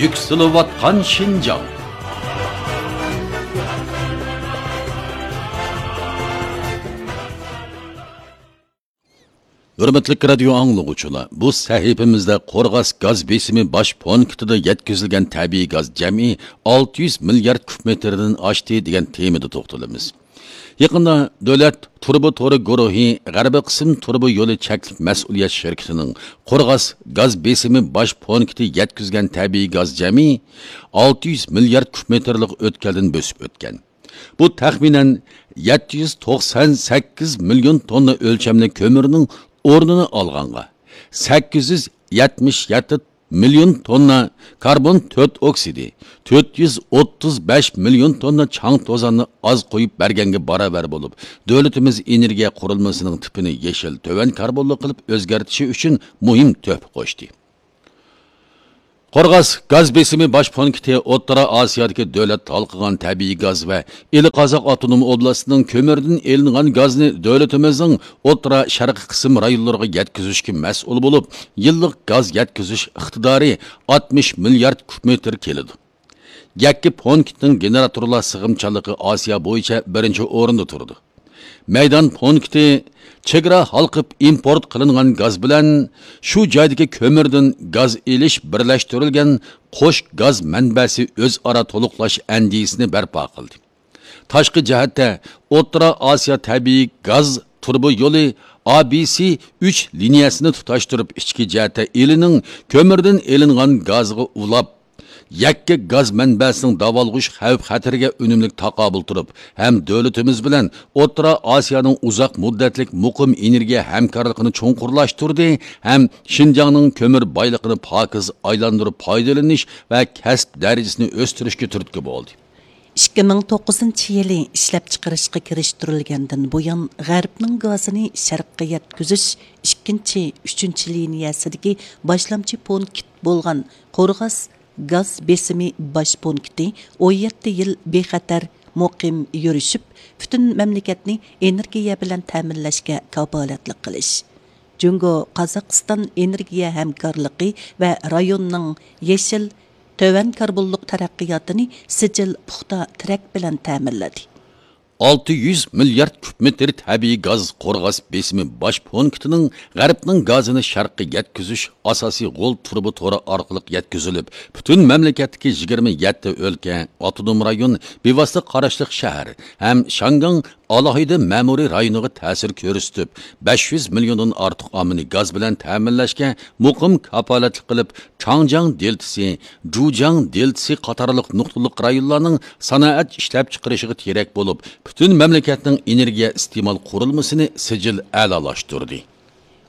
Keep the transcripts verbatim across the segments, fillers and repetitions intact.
يۈكسىلىۋاتقان شىنجاڭ. ھۆرمەتلىك رادىيو ئاڭلىغۇچىلار، بۇ سەھىپىمىزدە قورغاس گاز بېسىمى باش پونكىتىدا يەتكۈزۈلگەن تەبىئىي گاز جەمئىي ئالتە يۈز مىليارد كۇب مېتىردىن ئاشتى دېگەن تېمىدا توختىلىمىز. يېقىندا دۆلەت تۇرۇبا تورى گۇرۇھى غەربىي قىسىم تۇرۇبا يولى چەكلىك مەسئۇلىيەت شىركىتىنىڭ قورغاس گاز بېسىمى باش پونكىتى يەتكۈزگەن تەبىئىي گاز جەمئىي ئالتە يۈز مىليارد كۇب مېتىرلىق ئۆتكەلدىن بۆسۈپ ئۆتكەن. بۇ تەخمىنەن يەتتە يۈز توقسان سەككىز مىليون توننا ئۆلچەملىك كۆمۈرنىڭ ئورنىنى ئالغانغا، سەككىز يۈز يەتمىش يەتتە مىليون توننا كاربون تۆت ئوكسىدى، تۆت يۈز ئوتتۇز بەش مىليون توننا چاڭ توزاننى ئاز قويۇپ بەرگەنگە باراۋەر بولۇپ، دۆلىتىمىز ئېنېرگىيە قۇرۇلمىسىنىڭ تىپىنى يېشىل، تۆۋەن كاربونلۇق قىلىپ ئۆزگەرتىشى ئۈچۈن مۇھىم تۆھپە قوشتى. قورغاس گاز بېسىمى باش پونكىتى ئوتتۇرا ئاسىيادىكى دۆلەت ھالقىغان تەبىئىي گاز ۋە ئىلى قازاق ئاپتونوم ئوبلاستىنىڭ كۆمۈردىن ئېلىنغان گازنى دۆلىتىمىزنىڭ ئوتتۇرا شەرقىي قىسىم رايونلىرىغا يەتكۈزۈشكە مەسئۇل بولۇپ، يىللىق گاز يەتكۈزۈش ئىقتىدارى ئاتمىش مىليارد كۇب مېتىر كېلىدۇ. يەككە پونكىتنىڭ گېنېراتورلار سىغىمچانلىقى ئاسىيا بويىچە بىرىنچى ئورۇندا تۇرىدۇ. مەيدان پونكىتى چېگرا ھالقىپ ئىمپورت قىلىنغان گاز بىلەن شۇ جايدىكى كۆمۈردىن گاز ئېلىش بىرلەشتۈرۈلگەن قوش گاز مەنبەسى ئۆزئارا تولۇقلاش ئەندىزىسىنى بەرپا قىلدى. تاشقى جەھەتتە ئوتتۇرا ئاسىيا تەبىئىي گاز تۇرۇبا يولى ئا بى سى ئۈچ لىنىيەسىنى تۇتاشتۇرۇپ، ئىچكى جەھەتتە ئىلىنىڭ كۆمۈردىن ئېلىنغان گازىغا ئۇلاپ، يەككە گاز مەنبەسىنىڭ داۋالغۇش خەۋپ-خەتىرىگە ئۈنۈملۈك تاقابىل تۇرۇپ، ھەم دۆلىتىمىز بىلەن ئوتتۇرا ئاسىيانىڭ ئۇزاق مۇددەتلىك مۇقىم ئېنېرگىيە ھەمكارلىقىنى چوڭقۇرلاشتۇردى، ھەم شىنجاڭنىڭ كۆمۈر بايلىقىنى پاكىز ئايلاندۇرۇپ پايدىلىنىش ۋە كەسىپ دەرىجىسىنى ئۆستۈرۈشكە تۈرتكە بولدى. ئىككى مىڭ توققۇزىنچى يىلى ئىشلەپچىقىرىشقا كىرىشتۈرۈلگەندىن بۇيان، غەربنىڭ گازىنى شەرققە يەتكۈزۈش ئىككىنچى، ئۈچىنچى لىنىيەسىدىكى باشلامچى پونكىت بولغان قورغاس گاز بېسىمى باش پونكىتى ئون يەتتە يىل بىخەتەر، مۇقىم يۈرۈشۈپ، پۈتۈن مەملىكەتنى ئېنېرگىيە بىلەن تەمىنلەشكە كاپالەتلىك قىلىش، جۇڭگو قازاقىستان ئېنېرگىيە ھەمكارلىقى ۋە رايوننىڭ يېشىل، تۆۋەن كاربونلۇق تەرەققىياتىنى سىجىل پۇختا تىرەك بىلەن تەمىنلىدى. ئالتە يۈز مىليارد كۇب مېتىر تەبىئىي گاز قورغاس بېسىمى باش پونكىتىنىڭ غەربنىڭ گازىنى شەرققە يەتكۈزۈش ئاساسىي غول تۇرۇبا تورى ئارقىلىق يەتكۈزۈلۈپ، پۈتۈن مەملىكەتتىكى يىگىرمە يەتتە ئۆلكە، ئاپتونوم رايون، بىۋاسىتە قاراشلىق شەھەر ھەم شياڭگاڭ ئالاھىدە مەمۇرىي رايونىغا تەسىر كۆرسىتىپ، بەش يۈز مىليوندىن ئارتۇق ئاممىنى گاز بىلەن تەمىنلەشكە مۇقىم كاپالەتلىك قىلىپ، چاڭجياڭ دېلتىسى، جۇجياڭ دېلتىسى قاتارلىق نۇقتىلىق رايونلارنىڭ سانائەت ئىشلەپچىقىرىشىغا تىرەك بولۇپ، پۈتۈن مەملىكەتنىڭ ئېنېرگىيە ئىستېمال قۇرۇلمىسىنى سىجىل ئەلالاشتۇردى.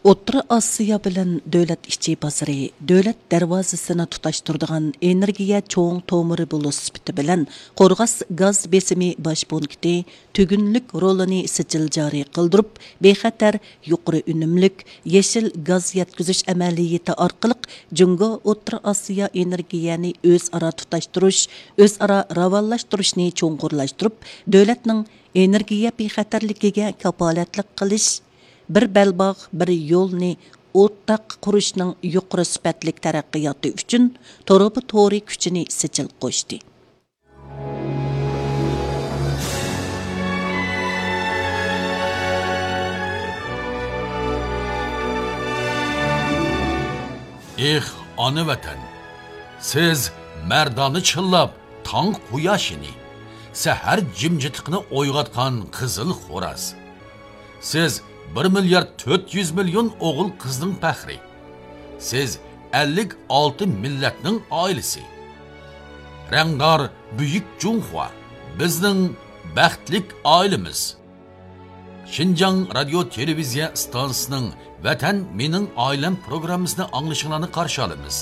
ئوتتۇرا ئاسىيا بىلەن دۆلەت ئىچى بازىرى، دۆلەت دەرۋازىسىنى تۇتاشتۇرىدىغان ئېنېرگىيە چوڭ تومۇرى بولۇش سۈپىتى بىلەن، قورغاس گاز بېسىمى باش پونكىتى تۈگۈنلۈك رولىنى سىجىل جارى قىلدۇرۇپ، بىخەتەر، يۇقىرى ئۈنۈملۈك، يېشىل گاز يەتكۈزۈش ئەمەلىيىتى ئارقىلىق جۇڭگو ئوتتۇرا ئاسىيا ئېنېرگىيەنى ئۆزئارا تۇتاشتۇرۇش، ئۆزئارا راۋانلاشتۇرۇشنى چوڭقۇرلاشتۇرۇپ، دۆلەتنىڭ ئېنېرگىيە بىخەتەرلىكىگە كاپالەتلىك قىلىش، بىر بەلباغ، بىر يولنى ئورتاق قۇرۇشنىڭ يۇقىرى سۈپەتلىك تەرەققىياتى ئۈچۈن تۇرۇبا تورى كۈچىنى سىجىل قوشتى. ئېھ، ئانا ۋەتەن! سىز مەردانە چىللاپ تاڭ قۇياشىنى، سەھەر جىمجىتلىقىنى ئويغاتقان قىزىل خوراز. سىز بىر مىليارد تۆت يۈز مىليون ئوغۇل قىزنىڭ پەخرى. سىز ئەللىك ئالتە مىللەتنىڭ ئائىلىسى. رەڭدار بۈيۈك جۇڭخۇا، بىزنىڭ بەختلىك ئائىلىمىز. شىنجاڭ رادىيو تېلېۋىزىيە ئىستانسىسىنىڭ ۋەتەن مېنىڭ ئائىلەم پروگراممىسىنى ئاڭلىشىڭلارنى قارشى ئالىمىز.